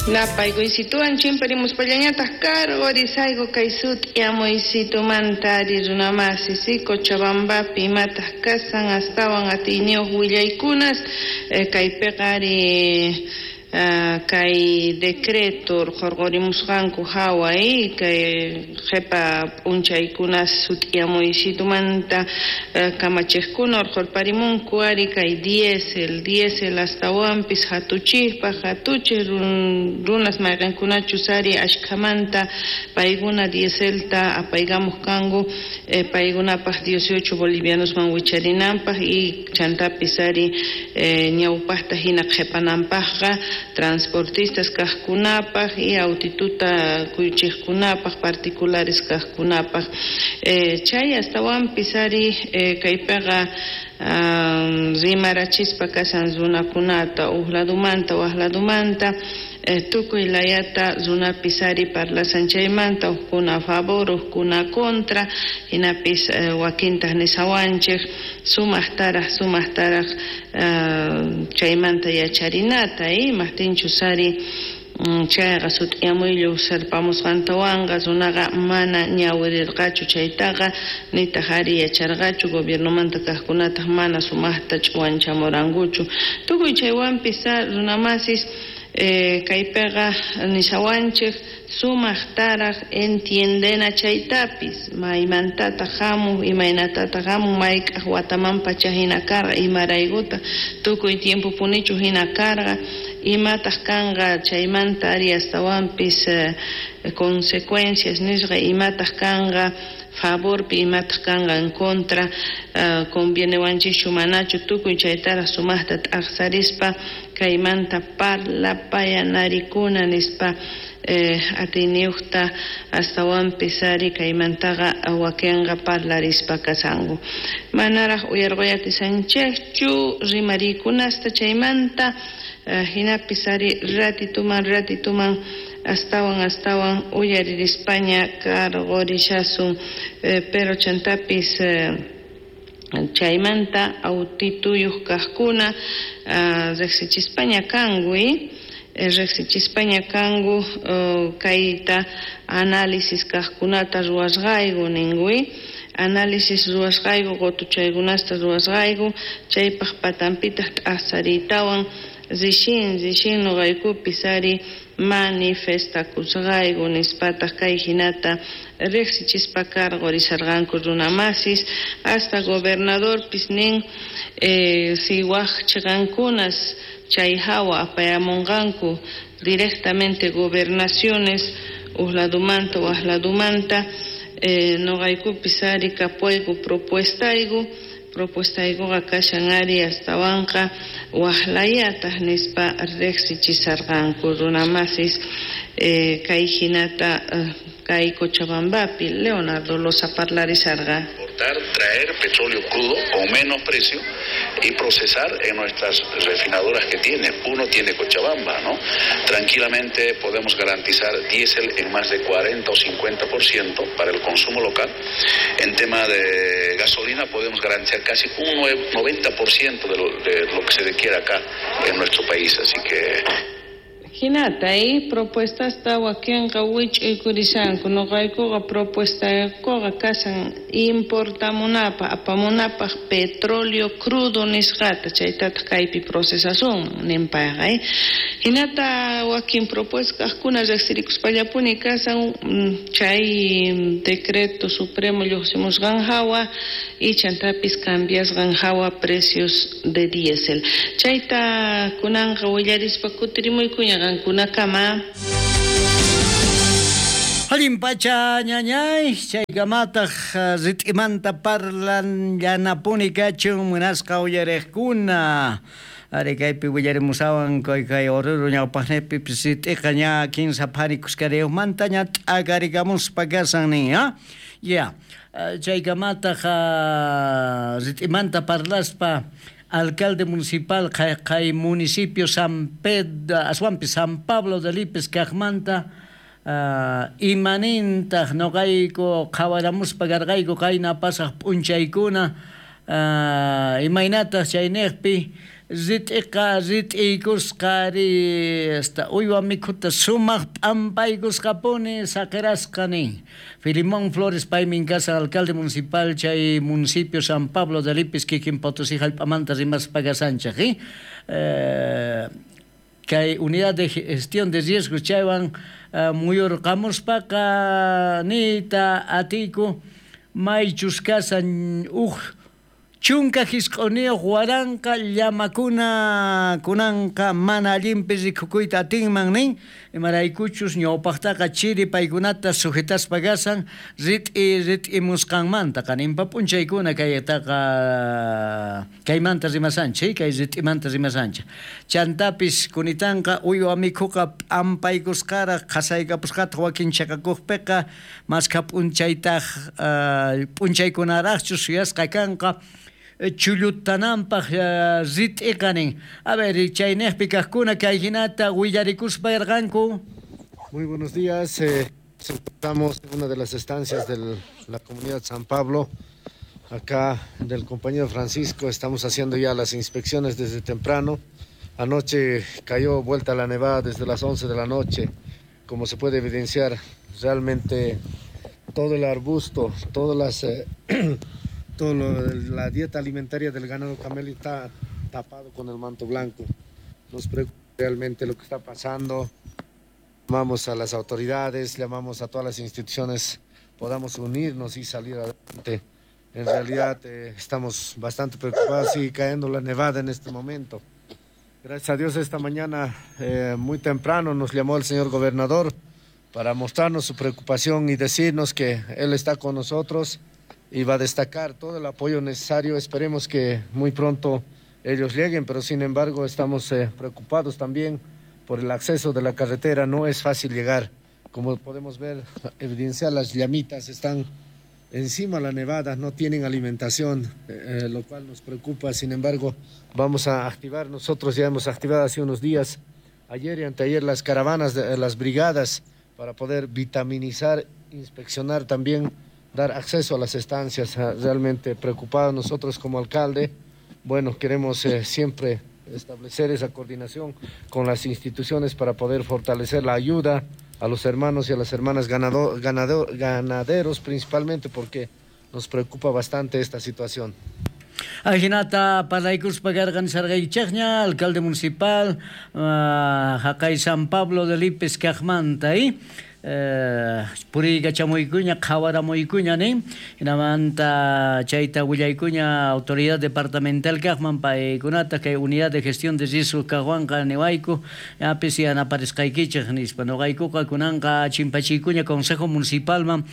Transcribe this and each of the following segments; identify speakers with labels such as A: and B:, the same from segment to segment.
A: Napaykuysiituwan chimparimuspallañataq karqurisayku kay sut'iyamuysitumanta ari runamasi si Cochabambapi imataq kasan astawan atiyniyuq willaykunas kaypiqa ari kay decreto urqhurqurimusqanku hawa kay qhipa p'unchaykunas sut'iyamuysitumanta kamachiqkuna urqhurparimunku ari kay diésel astawanpis hatuchikpaq hatuchik runas mayqinkunachus ari ashkhamanta paykuna dieselta apaykamuq kanku paykunapaq 18 bolivianosman wicharinanpaq y chantapis ari ñawpaqta hina qhipananpaqqa transportistas kaqkunapaq y autituta kuychiqkunapaq particulares kaqkunapaq chay astawanpis ari kaypiqa rimarachispa kasan runakunata uq ladumanta waq ladumanta tukuy layata runapis ari parlasan chaymanta uqkuna a favor uqkuna contra hinapis wakintaq nisawanchik sumaqtaraq sumaqtaraq chaymanta yacharinata imaqtinchus ari chayqa sut'iyamuyllu sirpamusqantawanqa runaqa mana ñawirirqachu chaytaqa nitaq ari yacharqachu gobiernomanta kaqkunataq mana sumaqta ch'uwanchamurankuchu tukuy chaywanpis runamasis kaypiqa nishawanchik sumaqtaraq entiendena chaytapis maymantataq hamuq imaynatataq hamuq mayk'aq watamanpacha hina karqa imaraykutaq tukuy tiempopunichu hina karqa imataq kanqa chaymanta ari astawanpis consecuencias nisqa imataq kanqa favorpi imataq kanqa en contra convienewanchikchu manachu tukuy chaytaraq sumaqta t'aqsarispa kaymanta parlapayanarikuna nispa atiyniyuqta astawanpis ari kaymantaqa wakinqa parlarispa kasanku manaraq uyarquyatisanchikchu rimariykunasta chaymanta hinapis ari ratituman ratituman astawan astawan uyaririspaña karqurishasun pero chantapis chaymanta autituyuq kaqkuna riqsichispaña kanku riqsichispaña kanku kayta análisis kaqkunata ruwasqayku ninku análisis ruwasqayku qutuchaykunasta ruwasqayku chaypaq patanpitaq t'aqsariytawan rishin rishin nuqaykupis ari manifestakusqayku nispataq kay hinata riqsichispa karqurisarqanku runamasis hasta gobernadorpis nin si waq chiqankunas chay hawa apayamunqanku directamente gobernaciones uq ladumanta waq ladumanta nuqaykupis ari kapuayku propuestayku propuestaykuqa kashan ari astawanqa waqlayataq nispa riqsichisarqanku runamasis kay hinata kay Cochabambapi Leonardo Loza parlarisarqa.
B: Traer petróleo crudo con menos precio y procesar en nuestras refinadoras que tiene. Uno tiene Cochabamba, ¿no? Tranquilamente podemos garantizar diésel en más de 40 o 50% para el consumo local. En tema de gasolina podemos garantizar casi un 90% de lo que se requiere acá en nuestro país, así que...
A: Hinata, propuestasta wakinqa wich'uykurishanku nuqaykuqa propuestaykuqa kasan importamunapaq apamunapaq petróleo crudo nisqata chaytataq kaypi procesasunman ninpayqa hinata wakin propuesta kaqkuna riqsirikuspallapuni kasan chay decreto supremo lluqsimusqan hawa y chantapis cambiasqan hawa precios de diésel chayta kunanqa willarispa kutirimuykuña kunakama.
C: Allin pacha ñañay chaykamataq rit'imanta parlan llanapuni kachun munasqa uyariqkuna ari kaypi willarimusawan kay Oruro ñawpaqnipipis rit'iqa ña kinsa phari kuskariyuqmanta ña t'akarikamuspa kasan nin ya chaykamataq rit'imanta parlaspa alcalde municipal kay municipio San Pedro aswanpi San Pablo de Lipes kaqmanta imanintaq nuqayku qhawaramuspa karqayku qayna pasaq p'unchaykuna imaynataq chayniqpi rit'iqa rit'iykusqa ari hasta uywa mikhuta sumaq p'ampaykusqapuni saqirasqa nin. Filimón Flores paymin kashan alcalde municipal chay municipio San Pablo de Lipis kikin Potosí hallp'amanta rimaspa kasanchej kay unidad de gestión de riesgos chaywan muyurqamuspaqa niyta atiyku maychus kasan uj chunka hisq'uniyuq waranqa llamakuna kunanqa mana allinpi rikukuyta atinman nin imaraykuchus ñawpaqtaqa chiri paykunata sujetaspa kasan rit'i rit'imusqanmanta qaninpa p'unchaykuna kaytaqa kaymanta rimasanchik kay rit'imanta rimasanchik chantapis kunitanqa uywa mikhuqa p'ampaykusqaraq qhasaykapusqataq wakin chaqakuqpiqa maskha p'unchaytaq p'unchaykunaraqchu suyasqa kanqa chullutananpaq rit'iqa nin. A ver, chayniqpi kaqkuna kay hinata willarikuspa yarqanku.
D: Muy buenos días. Estamos en una de las estancias de la comunidad San Pablo. Acá del compañero Francisco estamos haciendo ya las inspecciones desde temprano. Anoche cayó vuelta la nevada desde las 11 de la noche. Como se puede evidenciar, realmente todo el arbusto, todas las... la dieta alimentaria del ganado camelo está tapado con el manto blanco. Nos preocupa realmente lo que está pasando. Llamamos a las autoridades, llamamos a todas las instituciones, podamos unirnos y salir adelante. En realidad estamos bastante preocupados, sigue cayendo la nevada en este momento. Gracias a Dios esta mañana muy temprano nos llamó el señor gobernador para mostrarnos su preocupación y decirnos que él está con nosotros y va a destacar todo el apoyo necesario. Esperemos que muy pronto ellos lleguen, pero sin embargo estamos preocupados también por el acceso de la carretera. No es fácil llegar. Como podemos ver, evidenciar las llamitas están encima de la nevada, no tienen alimentación, lo cual nos preocupa. Sin embargo, vamos a activar, nosotros ya hemos activado hace unos días, ayer y anteayer, las caravanas, las brigadas, para poder vitaminizar, inspeccionar también, dar acceso a las estancias. Realmente preocupados nosotros como alcalde. Bueno, queremos siempre establecer esa coordinación con las instituciones para poder fortalecer la ayuda a los hermanos y a las hermanas ganaderos principalmente, porque nos preocupa bastante esta situación.
C: Ajinata parlaykuspa karqan sarqaychaqña alcalde municipal haqay San Pablo de Lipes kaqmanta puriykachamuykuña qhawaramuykuña nin hinamanta chayta willaykuña autoridad departamental kaqman paykunata kay unidad de gestión de riesgos kaqwanqa niwayku yapis yanaparisqaykichik nispa noqaykuqa kunanqa chimpachiykuña consejo municipalman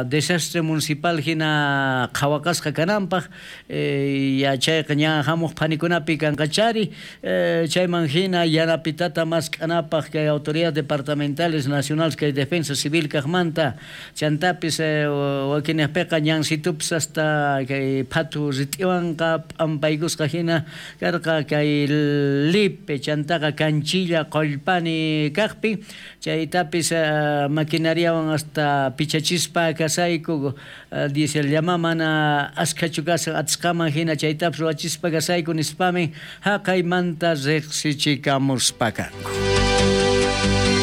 C: desastre municipal hina qhawaqasqa kananpaq yachayqa ña hamuq phanikunapi kanqachari chayman hina yanapitata mask'anapaq kay autoridades departamentales nacionales kay defensa civil kaqmanta chantapis wakinaqpiqa ñansitupis hasta kay phatu rit'iwanqa p'ampaykusqa hina karqa kay Lipe chantaqa Canchilla Qollpani kaqpi chaytapis maquinariawan hasta pichachispa kasayku diesel llama mana askhachu kasan atisqaman hina chaytapis ruwachispa kasayku nispami haqaymanta riqsichikamuspa kanku.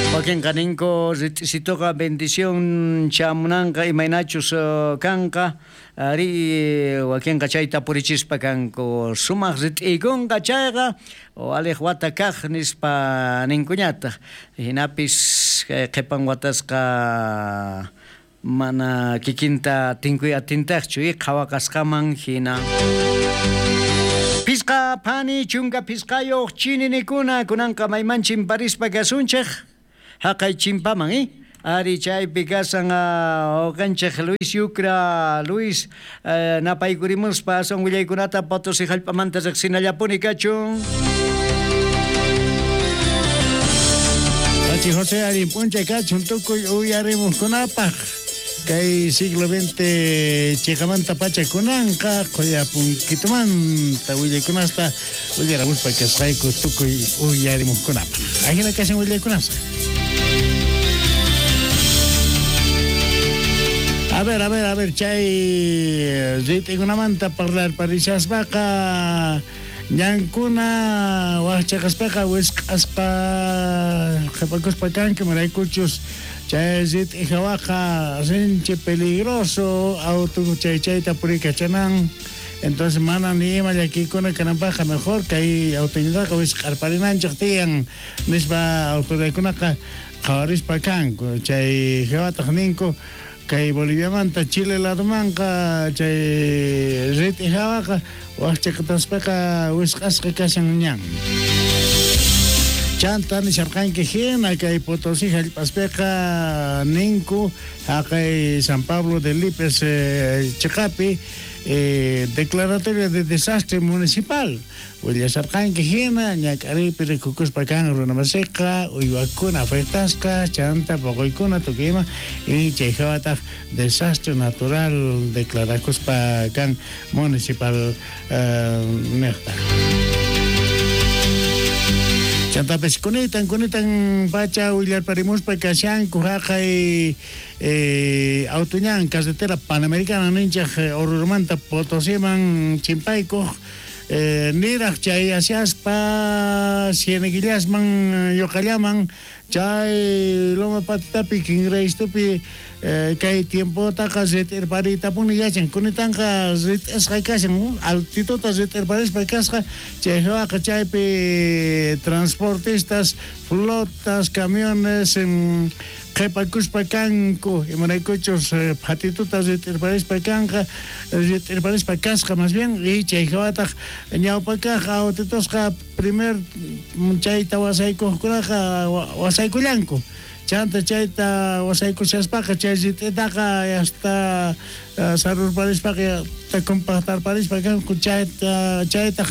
C: Wakinqa ninku rit'isituqa bendición chamunanqa imaynachus kanqa ari wakinqa chayta purichispa kanku sumaq rit'iykunqa chayqa o aliq wata kaq nispa ninkuñataq hinapis qhipan watasqa mana kikinta tinkuy atintaqchu qhawaqasqaman hina. Pisqa phani chunka pisqayuq chininikuna kunanqa mayman chimparispa kasunchik haqay chimpaman ari chaypi kasan uqanchik Luis Yucra Luis napaykurimuspa aswan willaykunata Potosí hallp'amanta riqsinallapuni kachun.
E: Achi José arin p'unchay kachun tukuy uyarimuqkunapaq kay siglo XX chiqamanta pacha kunanqa qoyapunkitumanta willaykunasta willaramuspa kasqayku tukuy uyarimuqkunapaq. Ajina kashan willaykunasqa. A ver, chay rit'ikunamanta parlar parishaspaqa Ñankuna wajchaqaspaqa wisq'asqa qhipakuspa kanku, imaraykuchus chay rit'i hawaqa sinchi peligroso auto chay chayta puriykachanan. Entonces mana ni ima llakiykuna kananpaqqa mejor kay autoñataqa wisq'arparinanchik tiyan nispa autoridadkunaqa qhawarispa kanku. Chay hawataq ninku kay Boliviamanta Chile ladomanqa chay rit'i hawaqa wajchaqataspaqa wisq'asqa kashan ñan. Chanta nisharqanki hina kay Potosí hallp'aspiqa ninku haqay San Pablo de Lipes chiqapi declaratoria de desastre municipal willasharqanki hina ñak'ariypi rikukuspa kan runamasiqa uywakuna afectasqa chanta poqoykuna tukuy ima y chay hawataq desastre natural declarakuspa kan municipal niqta. Chantapis kunitan pacha willarparimuspa kashanku haqay autoñan carretera panamericana ninchaq Oruromanta Potosíman chimpaykuq niraq chayashaspa Cieneguillasman Yoqallaman chay Loma Patitapi Kingraystupi kay tiempotaqa rit'irpariytapuni yachan kunitanqa rit'isqa kashan altituta rit'irparispa kasqa chay hawaqa chaypi transportistas flotas camiones qhipakuspa kanku imaraykuchus phatituta rit'irparispa kanqa rit'irparispa kasqa más bien y chay hawataq ñawpakaq autitusqa primer chayta wasaykuqkunaqa wasaykullanku chanta chayta wasaykushaspaqa chay rit'itaqa hasta sarurparispaqa compactarparispa kanku chaytaq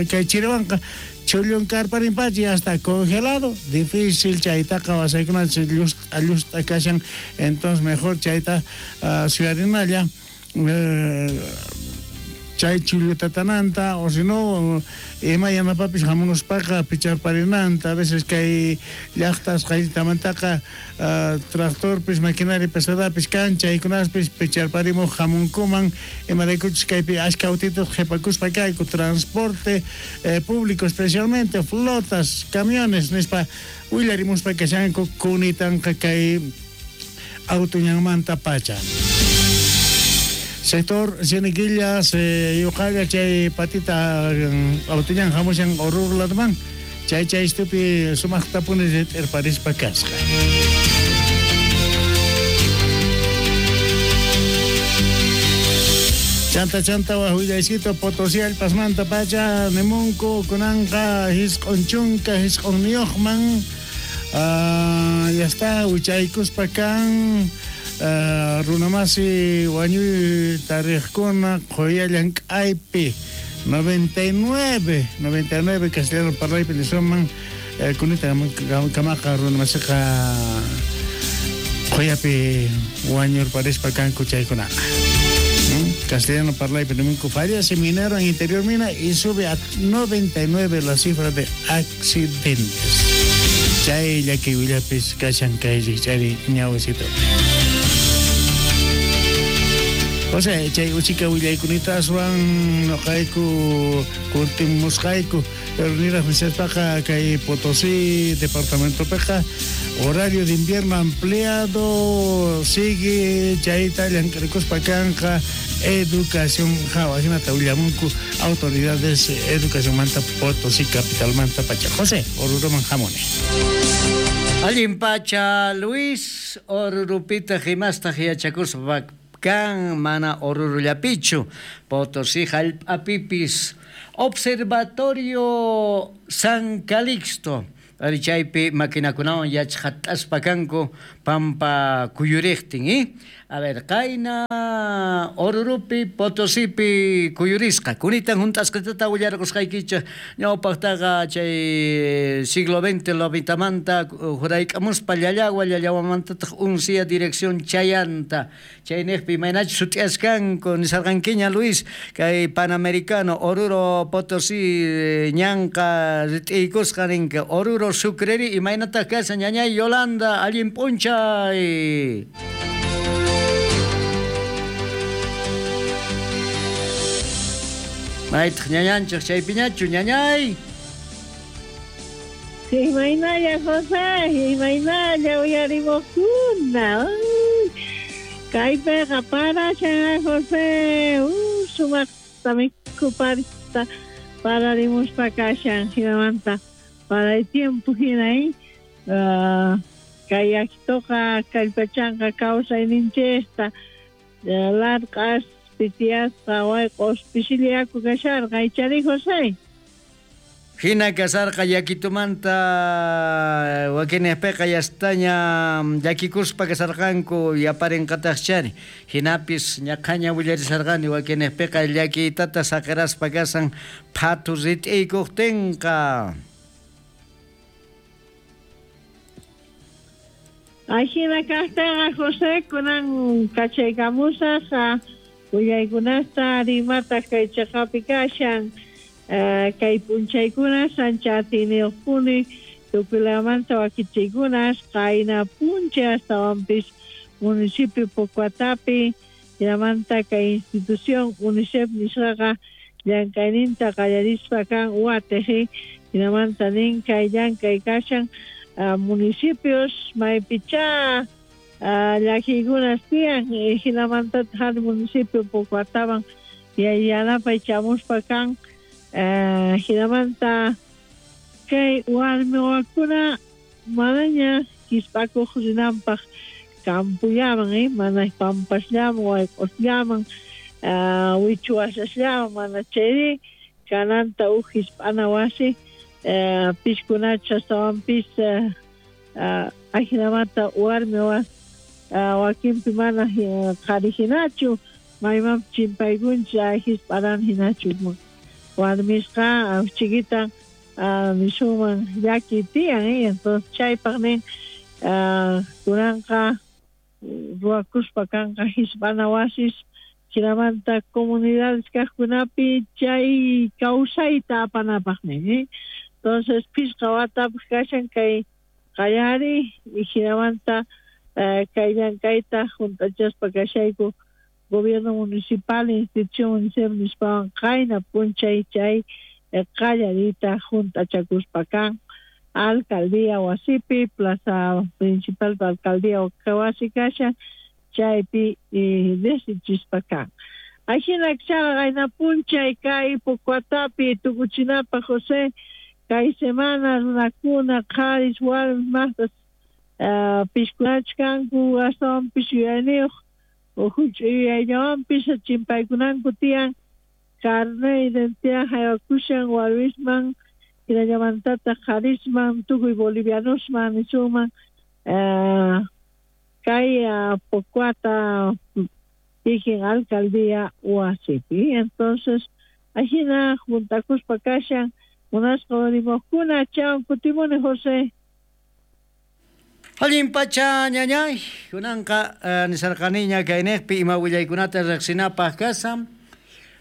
E: kay chiriwanqa chullunkarparinpacha ya está congelado, difícil chaytaqa wasaykunanchik llust'a kashan, entonces mejor chayta suyarinalla chay chullutatananta o si no ima yanapapis hamunuspaqa picharparinanta a veces kay llaqtas qayllitamantaqa tractorpis maquinaria pesadapis kan chaykunaspis picharparimuq hamunkuman imaraykuchus kaypi ashka autitos qhipakuspa kayku transporte público especialmente flotas camiones nispa willarimuspa kashanku kunitanqa kay autoñanmanta pacha. Sector Cieneguillas yuqalla chay patita autoñan hamushan Oruro ladoman chay chaystupi sumaqtapuni rit'irparispa kasqa. Chanta wahullaysito Potosí hallp'asmanta pacha nimunku kunanqa hisq'un chunka hisq'unniyuqman ya está wichaykuspa kan runamasi wañuy tariqkuna qhuya llank'aypi 99 castellano parlaypi nisuman kunita kamaqa runamasiqa qhuyapi wañurparispa kanku chaykunaqa. Castellano parlaypi nimunku fallece minero en interior mina y sube a 99 la cifra de accidentes. Chay llaki willapis kashan kay rikch'ari ñawisito. O sea, chay uchika willaykunita aswan noqayku kurtimusqayku pero niraq nishaspaqa kay Potosí departamentopiqa horario de invierno ampliado sigue chayta llank'arikuspa kanqa educación hawa hinata willamunku autoridades educación manta Potosí capital manta pacha. José Oruroman hamuni.
C: Allin pacha Luis Orurupita himastaq yachakuspa kan mana Orurullapichu Potosí hallp'apipis Observatorio San Calixto ari chaypi maquinakunawan yachqat'aspa kanku pampa kuyuriqtin a ver qayna Orurupi Potosipi kuyurisqa kunitan hunt'asqatata willarqusqaykichik ñawpaqtaqa chay siglo XX lobitamanta hurayk'amuspa Llallagua Llallawamantataq uncia dirección chayanta chayniqpi imaynachus sut'iyaskanku nisarqankiña Luis kay Panamericano Oruro Potosí ñanqa rit'iykusqa ninka Oruro Sucreri imaynataq kashan ñañay Yolanda allin p'unchay. Maytaq ñañanchik chaypiñachu, ñañay?
F: Imaynalla, José, imaynalla uyarimuqkuna. Kaypiqa parashan, José, sumaqta mikhuparista pararimuspa kashan, hinamanta paray tiempo hina, kay yakituqa kallpachanqa kawsayninchikta, larq'as pitiyasqa wayq'os pisilla yaku kasharqa, ichari, José?
C: Hina kasarqa yakitumanta wakinejpeqa yastaña llakikuspa kasarqanku yaparinqataqchari. Hinapis ñaqhaña willarisarqani wakinejpeqa llakiytata saqiraspa kasan phatu rit'iykuqtinqa.
F: Ajina kaqtaqa, José, kunan kachaykamusaq willaykunasta rimataq kay chaqapi kashan. Kay p'unchaykuna ancha atiyniyuqpuni tukuylamanta wakichiykunas qayna p'unchay astawanpis municipio Pocoatapi hinamanta kay institución UNICEF nisqaqa llank'ayninta qallarispa kan watiq hinamanta nin kay llank'ay kashan municipios maypichá llakiykunas tiyan hinamantataq hari municipio Pocoataman yanapay chamuspa kan. Hinamanta kay warmi wawakuna manaña hisp'akuq rinanpaq campollaman, mana pampasllaman wayq'usllaman wichuwasasllaman mana chayri kananta uj hisp'ana wasi piskunachus astawanpis ajinamanta warmi wakinpi mana qhari hinachu maymanpis chimpaykunchik hisp'aran hinachu warmisqa chiquitan nisuman llaki tiyan, entonces chaypaq nin kunanqa ruwakuspa kanqa hisp'ana wasis hinamanta comunidades kaqkunapi chay kawsayta apanapaq nin, entonces phisqa watapaq kashan kay qallari hinamanta kay llank'ayta hunt'achaspa kashayku gobierno municipal, institución UNICEF nispawan qayna p'unchay chay qallariyta hunt'achakuspa kan alcaldía wasipi, plaza principal alcaldía wasi kashan chaypi riqsichispa kan. Ajina chaqa qayna p'unchay kay Pocoatapi tukuchinapaq, José, kay semana runakuna qharis warmis maqtas pishkunachus kanku astawanpis yuyayniyuq huch'uy yuyayllawanpis chimpaykunanku tiyan carnet identidad haywakushan warmisman hinallamantataq qharisman tukuy bolivianosman nisunman kay Pocoata kikin alcaldía wasipi. Entonces ajina juntakuspa kashan munasqa urimuqkuna chawan kutimuni, José.
C: Allin pacha ñañay, kunanqa nisarqaniña kayniqpi ima willaykunata riqsinapaq kashan.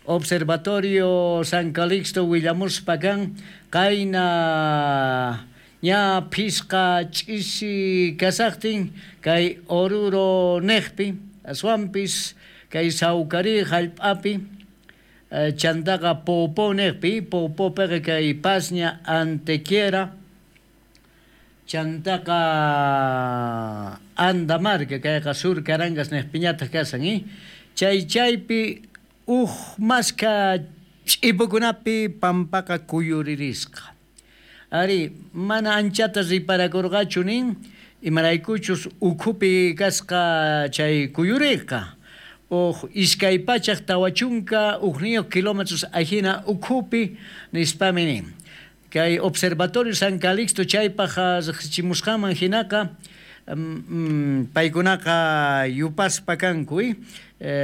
C: Observatorio San Calixto willamuspa kan qayna ña phisqa ch'isi kasaqtin kay Oruro niqpi aswanpis kay Sawkari hallp'api chantaqa Popo niqpi Popopiqa kay Pasña Antequera chantaqa Andamarca kayqa Sur Carangas niqpiñataq kasan, chay chaypi uj maska ch'ipukunapi pampaqa kuyuririsqa. Ari mana anchata riparakurqachu nin imaraykuchus ukhupi kasqa chay kuyuriqa uj iskay pachaq tawachunka ujniyuq kilómetros ajina ukhupi nispami nin. Kay Observatorio San Calixto chaypaq riqsichimusqanman hinaqa paykunaqa yupaspa kanku.